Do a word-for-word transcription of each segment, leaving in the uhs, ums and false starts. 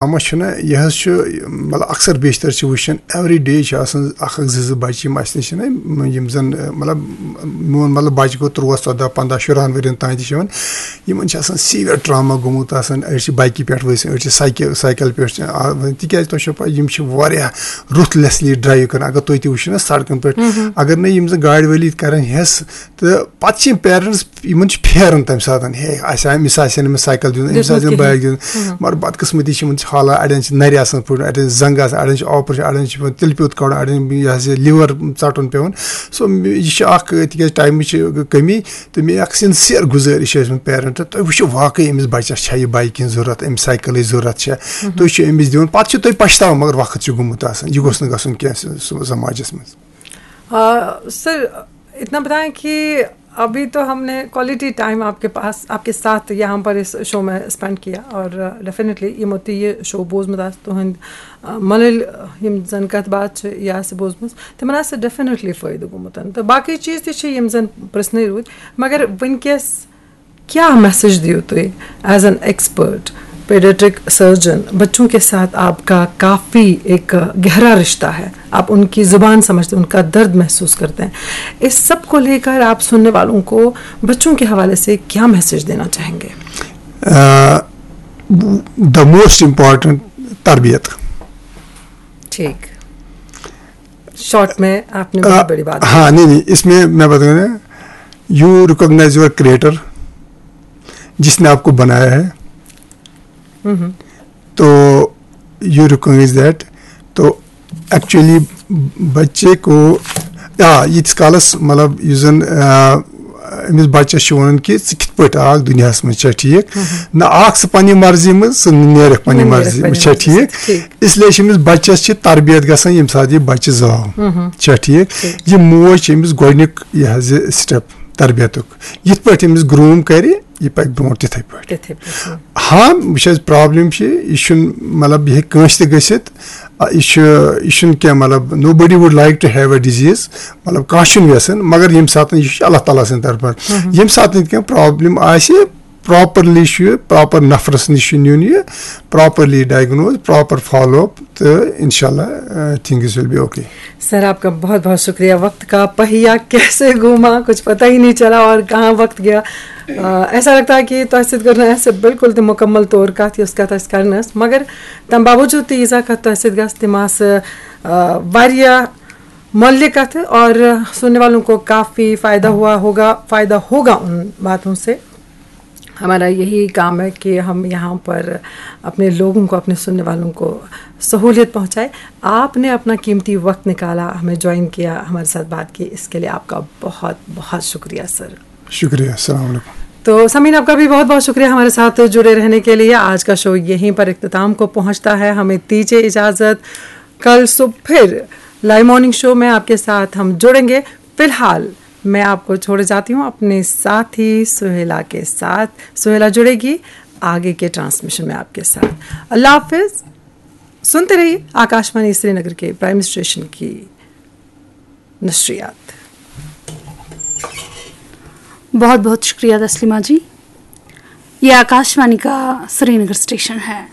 Trauma چھُنہ، یہِ حظ چھُ، مطلب، اکثر بیشتر چھِ وٕچھان، ایوری ڈے چھِ آسان اکھ اکھ زٕ زٕ بَچہِ یِم اَسہِ نِش چھِنہ، یِم زَن، مطلب، میون، مطلب، بَچہِ گوٚو تُرٛواہ، ژۄداہ، پنٛداہ، شُرہَن ؤرِین تام تہِ چھِ یِوان۔ یِمَن چھِ آسان سیٖویَر ٹراما گوٚمُت آسان، أڑۍ چھِ بایکہِ پٮ۪ٹھ ؤسۍ، أڑۍ چھِ سایکہِ-، سایکل پٮ۪ٹھ چھِ، آ، تِکیٛازِ تۄہہِ چھو پَے، یِم چھِ واریاہ رُتھ لیسلی ڈرٛایِو کَران۔ اگر تُہۍ تہِ وٕچھِو نہ سڑکَن پٮ۪ٹھ، اگر نہٕ یِم زَن گاڑِ وٲلۍ ییٚتہِ کَرَن ہٮ۪س، تہٕ پَتہٕ چھِ یِم پیرنٹس، یِمن چھِ پھیران تَمہِ ساتہٕ، ہے، اَسہِ آے، أمِس آسہِ ہے نہٕ أمِس سایکل دیُن، أمِس دیُتمُت آسہِ ہے نہٕ کِہیٖنۍ۔ بایک دیُن۔ مگر بدقٕسمتی چھِ یِمن چھِ حالات، اَڑٮ۪ن چھِ نَرِ آسان پھُٹمُت، اَڑٮ۪ن چھِ زنٛگہٕ آسان، اَڑٮ۪ن چھِ آپریشن، اَڑٮ۪ن چھِ پٮ۪وان تِلہٕ پیوٗت کَڑُن، اَڑٮ۪ن یہِ ہسا یہِ لِور ژَٹُن پٮ۪وان۔ سو، یہِ چھِ اکھ، تِکیازِ ٹایمٕچ چھِ کٔمی، تہٕ مےٚ اکھ سِنسِیر گُزٲرِش چھِ ٲسمٕژ پیرنٹن، تُہۍ وٕچھِو واقعی أمِس بَچَس چھا یہِ بایکہِ ہِنٛز ضوٚرتھ، أمِس سایکلٕچ ضوٚرتھ چھا، تُہۍ چھِو أمِس دِوان، پَتہٕ چھِو تُہۍ پَشتاوان، مگر وقت چھُ گوٚمُت آسان، یہِ گوٚژھ نہٕ گژھُن کینٛہہ سُہ، سُہ سماجس منٛز۔ آ، سر، اتنا بتائیں کہ ابھی تو ہم نے کوالٹی ٹائم آپ کے پاس، آپ کے ساتھ یہاں پر اس شو میں اسپینڈ کیا، اور ڈیفینیٹلی یہ موتی یہ شو بوزمت آسہِ تُہنٛد، آ، ملل یم زن کتھ باتھ چھِ یہ آسہِ بوزمٕژ، تِمن آسہِ ڈیفینیٹلی فٲیدٕ گوٚمُت۔ تہٕ باقی چیز تہِ چھِ یم زن پرژھنٕے روٗدۍ، مگر وٕنکیٚس کیا میسج دِیِو تُہۍ as an expert paediatric surgeon? بچوں کے ساتھ آپ کا کافی ایک گہرا رشتہ ہے، آپ ان کی زبان سمجھتے ہیں، ان کا درد محسوس کرتے ہیں۔ اس سب کو لے کر آپ سننے والوں کو بچوں کے حوالے سے کیا میسج دینا چاہیں گے؟ The most important تربیت۔ ٹھیک، شارٹ میں آپ نے بہت بڑی بات۔ ہاں، نہیں نہیں، اس میں میں بتاؤں نا، you recognize your creator، جس نے آپ کو بنایا ہے، تو you recognize that۔ تو ایکچولی بچے کو، آ، ییٖتِس کالس، مطلب، یُس زن، آ، أمِس بچس چھِ ونان کہِ ژٕ کِتھ پٲٹھۍ آکھ دُنیاہس منٛز، چھا ٹھیٖک؟ نہ آکھ ژٕ پننہِ مرضی منٛز، ژٕ نیرکھ پننہِ مرضی منٛز، چھا ٹھیٖک؟ اس لیے چھِ أمِس بچس چھِ تربیت گژھان ییٚمہِ ساتہٕ یہِ بچہِ زاو، چھا ٹھیٖک؟ یہِ موج چھِ أمِس گۄڈٕنیُک یہِ حظ یہِ سٹیپ تربیتُک، یِتھ پٲٹھۍ أمِس گروٗم کرِ، یہِ پکہِ برونٛٹھ تِتھے پٲٹھۍ۔ ہاں، وٕچھ حظ، پرابلم چھِ، یہِ چھُنہٕ، مطلب، یہِ ہیٚکہِ کٲنٛسہِ تہِ گٔژھِتھ۔ آ، یہِ چھُ، یہِ چھُنہٕ کینٛہہ، مطلب، nobody would like to have a disease، مطلب، کانٛہہ چھُنہٕ یژھان، مگر ییٚمہِ ساتہٕ یہِ چھُ اللہ تعالیٰ سٕنٛدِ طرفہٕ، ییٚمہِ ساتہٕ کینٛہہ پرابلم آسہِ، پراپرلی چھُ یہِ پراپر نفرس نِش چھُ نیُن یہِ، properly diagnose, proper follow up, تہٕ انشاءاللہ، آ، things will be okay۔ سر، آپ کا بہت بہت شکریہ۔ وقت کا پہیہ کیسے گھوما، کچھ پتہ ہی نہیں چلا اور کہاں وقت گیا۔ آ، ایسا لگتا ہے کہ تۄہہِ سۭتۍ کٔر نہٕ اَسہِ بالکل تہِ مکمل طور کتھ، یۄس کتھ اَسہِ کرنۍ ٲس، مگر تَمہِ باوجوٗد تہِ ییٖژاہ کتھ تۄہہِ سۭتۍ گژھِ، تِم آسہٕ، آ، واریاہ مۄلہِ کتھٕ، اور سننے والوں کو کافی فائدہ ہوا ہوگا، فائدہ ہوگا ان باتوں سے۔ ہمارا یہی کام ہے کہ ہم یہاں پر اپنے لوگوں کو، اپنے سننے والوں کو سہولیت پہنچائے۔ آپ نے اپنا قیمتی وقت نکالا، ہمیں جوائن کیا، ہمارے ساتھ بات کی، اس کے لیے آپ کا بہت بہت شکریہ سر۔ شکریہ، السلام علیکم۔ تو سامعین، آپ کا بھی بہت بہت شکریہ ہمارے ساتھ جڑے رہنے کے لیے۔ آج کا شو یہیں پر اختتام کو پہنچتا ہے، ہمیں دیجیے اجازت، کل صبح پھر لائیو مارننگ شو میں آپ کے ساتھ ہم جڑیں گے۔ فی الحال میں آپ کو چھوڑے جاتی ہوں اپنے ساتھی سہیلا کے ساتھ۔ سہیلا جڑے گی آگے کے ٹرانسمیشن میں آپ کے ساتھ۔ اللہ حافظ۔ سنتے رہیے آکاشوانی سری نگر کے پرائم اسٹیشن کی نشریات۔ बहुत बहुत शुक्रिया तस्लिमा जी। ये आकाशवाणी का श्रीनगर स्टेशन है।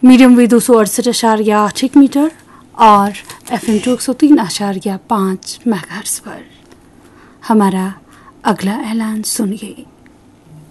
मीडियम वेव दो सौ अड़सठ अशारिया आठ एक मीटर और एफएम टू एक सौ तीन अशारिया पाँच मेगाहर्ट्ज पर। हमारा अगला ऐलान सुनिए।